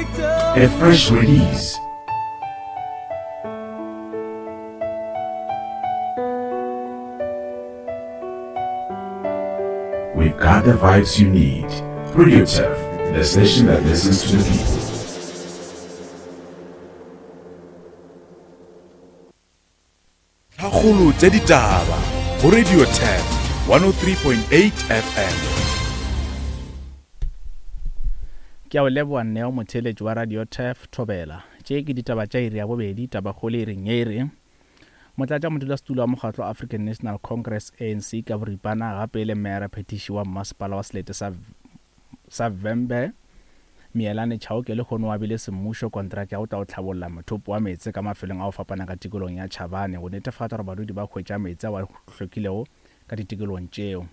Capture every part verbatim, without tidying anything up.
A fresh release. We've got the vibes you need. Radio Turf, the station that listens to the people. Tlhakgolo tša ditaba go Radio Turf one oh three point eight F M. Ke a o leboha Neo, motheeletši wa Radio Turf Thobela. Tše ke ditaba tša iri ya bobedi, tabakgolo e reng e re Motlatša modulasetulo wa mokgatlo African National Congress A N C ka boripana gape le meyara phetiši wa mmasepala wa selete sa sa Vhembe Mielane Chauke le kgono wa bile semmušo kontraka ya go tla o tlhabolla mothopo wa meetse ka mafelong a go fapana ka tikolong ya Chavane go netefatša gore badudi ba hwetša meetse ao a hlwekilego ka ditikolong tšeo.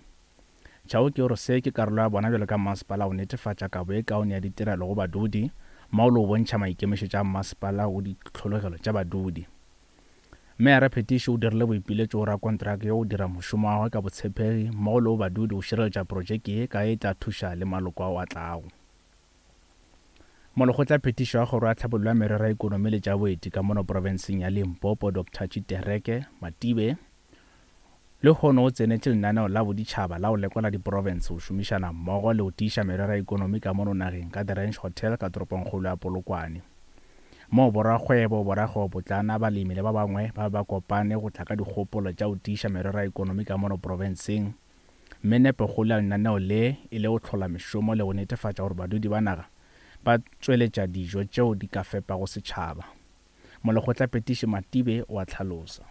Chauke o re se ke karolo ya bona bjalo ka mmasepala go netefatša kabo e kaone ya ditirelo go badudi mao le go bontšha maikemišetšo a mmasepala go ditlhologelo tša badudi. Meyara phetiši o dirile boipiletšo go rakontraka yo o dira mošomo wa gagwe ka botshepegi mmogo le go badudi go šireletša projeke ye ka e tla thuša le maloko ao a tlago. Molekgotla phetišo ya kgoro ya tlhabollo ya merero ya ikonomi le tša boeti ka mono profenseng ya Limpopo Doctor Tshitereke Matibe le kgono o tsenetše lenaneo la boditšhaba la go lekola diprofense go šomišana mmogo le go tiiša merero ya ikonomi ka mono nageng ka The Ranch Hotel ka toropongkgolo ya Polokwane. Moo borakgwebo, borakgwebopotlana, balemi le ba bangwe ba ba kopane go tla ka dikgopolo tša go tiiša merero ya ikonomi ka mono profenseng. Mme nepokgolo ya lenaneo le e le go hlola mešomo le go netefatša gore badudi ba naga ba tšweletša dijo tšeo di ka fepago setšhaba. Molekgotla phetiši Matibe o a hlalosa.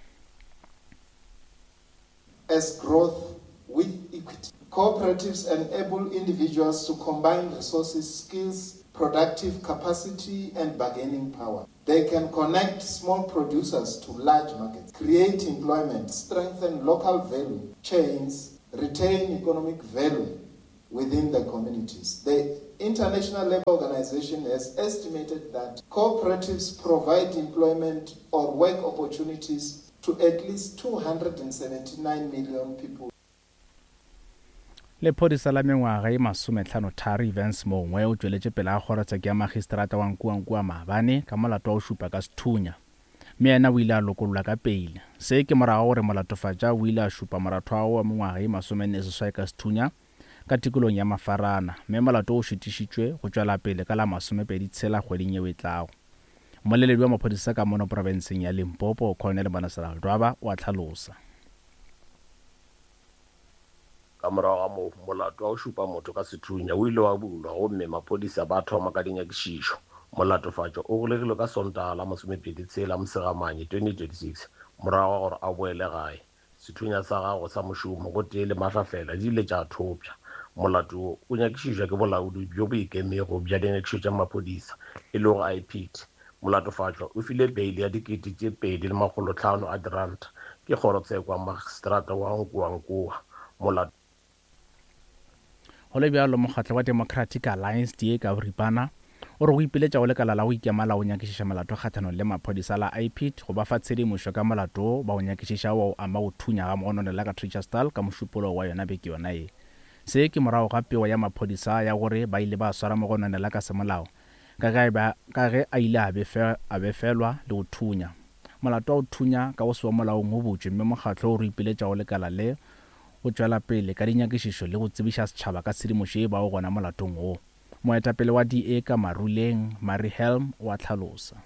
As growth with equity. Cooperatives enable individuals to combine resources, skills, productive capacity, and bargaining power. They can connect small producers to large markets, create employment, strengthen local value chains, retain economic value within the communities. The International Labour Organization has estimated that cooperatives provide employment or work opportunities to at least two hundred seventy-nine million people. Lephodisa la mengwaga e masometlhano tharo Evans Mongwe o tšweletše pele ga kgorotsheko ya magistrata wa Nkuankua maabane ka molato wa go šupa ka sethunya, mme yena o ile a lokollwa ka peile. Se ke morago gore molatofatša o ile a šupa moratho wa gagwe wa mengwaga e masomenne seswai ka sethunya ka tikolong ya Mafarana, mme molato o šutišitšwe go tšwela pele ka la masomepedi tshela kgweding yeo e tlago. Mmoleledi wa maphodisa ka mono profenseng ya Limpopo Colonel Manasela Dwaba o a hlalosa. Ka morago ga moo, molato wa go šupa motho ka sethunya o ile wa bulwa gomme maphodisa ba thoma ka dinyakišišo. Molatofatšo o golegilwe ka Sontaga la masomepedi tshela Mosegamanye twenty twenty-six morago ga gore a boele gae. Sethunya sa gagwe sa mošomo gotee le mahlafela di ile tša thopša. Molato wo o nyakišišwa ke bolaodi bjo bo ikemego bja dinyakišišo tša maphodisa e lego I P T. Molatofatšwa o file beile ya dikete tše pedi le makgolo hlano a diranta ke kgorotsheko ya magistrata wa Nkuankua. Molato Go le bjalo, mokgatlo wa Democratic Alliance D A ka boripana o re go ipiletša go lekala la go ikema la go nyakišiša molato kgahlanong le maphodisa la I P T go ba fa tshedimošo ka molato ba go nyakišiša wa o ama go thunya ga mogononela ka Treacherstal ka mošupologo wa yona beke yona ye. Se ke morago ga pego ya maphodisa ya gore ba ile ba swara mogononela ka semolao ka ge ka ge a ile a befe, a befelwa le go thunya. Molato wa go thunya ka go se wa molaong o butšwe, mme mokgatlo o re ipiletša go lekala le go tšwela pele ka dinyakišišo le go tsebiša setšhaba ka tshedimošo e bago gona molatong wo. Moetapele wa D A ka Maruleng, Mary Helm, o a hlalosa.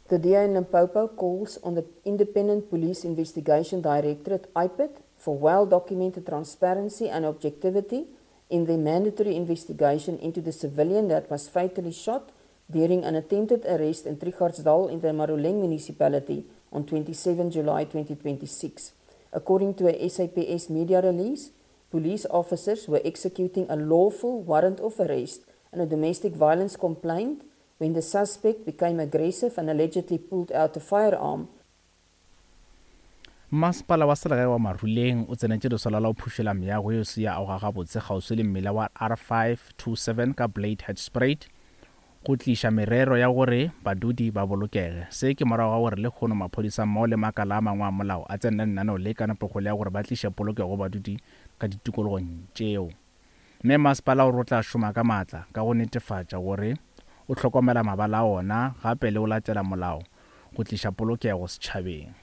The D A in Limpopo calls on the Independent Police Investigation Directorate, I P I D, for well-documented transparency and objectivity in the mandatory investigation into the civilian that was fatally shot during an attempted arrest in Trichardsdal in the Maruleng municipality on twenty-seventh July twenty twenty-six. According to a S A P S media release, police officers were executing a lawful warrant of arrest and a domestic violence complaint when the suspect became aggressive and allegedly pulled out a firearm. Masepala wa selegae wa Maruleng o tsenetše lesolo la go phušola meago yeo se ya agoga gabotse kgauswi le mmila wa R five two seven ka Blade Headspruit go tliša merero ya gore badudi ba bolokege. Se ke morago ga gore lekgono maphodisa mmogo le makala a mangwe a molao a tsene lenaneo le ka nepokgolo ya gore ba tliše polokego go badudi ka ditikologong tšeo. Mme masepala o re o tla šoma ka maatla ka go netefatša gore o hlokomela mabala a ona gape le o latela molao go tliša polokego setšhabeng.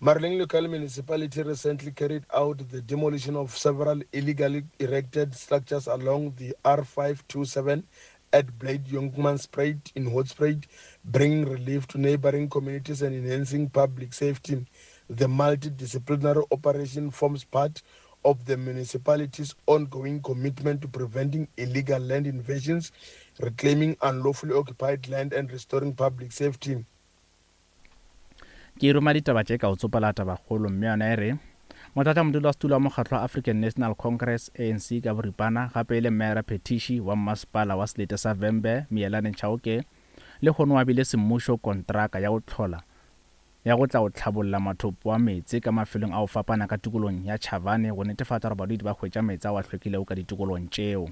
Marleng Local Municipality recently carried out the demolition of several illegally erected structures along the R five two seven at Blade Jongmanspruit in Hoedspruit, bringing relief to neighboring communities and enhancing public safety. The multidisciplinary operation forms part of the municipality's ongoing commitment to preventing illegal land invasions, reclaiming unlawfully occupied land and restoring public safety. Ke roma ditaba tše ka o tsopela tabakgolo mme yona e re motlatšamodulasetulo wa mokgatlo wa African National Congress A N C ka boripana gape e le mmeara phetiši wa mmasepala wa selete sa Vhembe Miyelani Chauke le kgono wa bile semmušo kontraka ya go tlhola ya go tla go tlhabolla mathopo a meetse ka mafelong a go fapana ka tikolong ya Chavane go netefatša gore badudi ba hwetša meetse ao a hlwekilego ka ditikolong tšeo.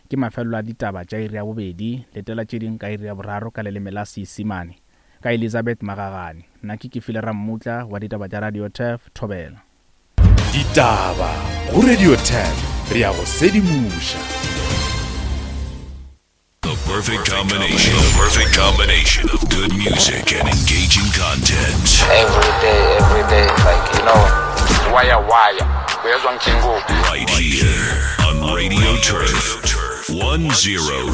Ke mafelelo a ditaba tša iri ya bobedi, letela tše ding ka iri ya boraro ka leleme la Seisemane ka Elizabeth Magagane. Nna ke Kefile Rammutla wa ditaba tša Radio Turf, Thobela. Ditaba go Radio Turf, re ya go sedimoša. The perfect combination, the perfect combination of good music and engaging content. Every day, every day, like, you know, wire, wire. Right here on Radio Turf one oh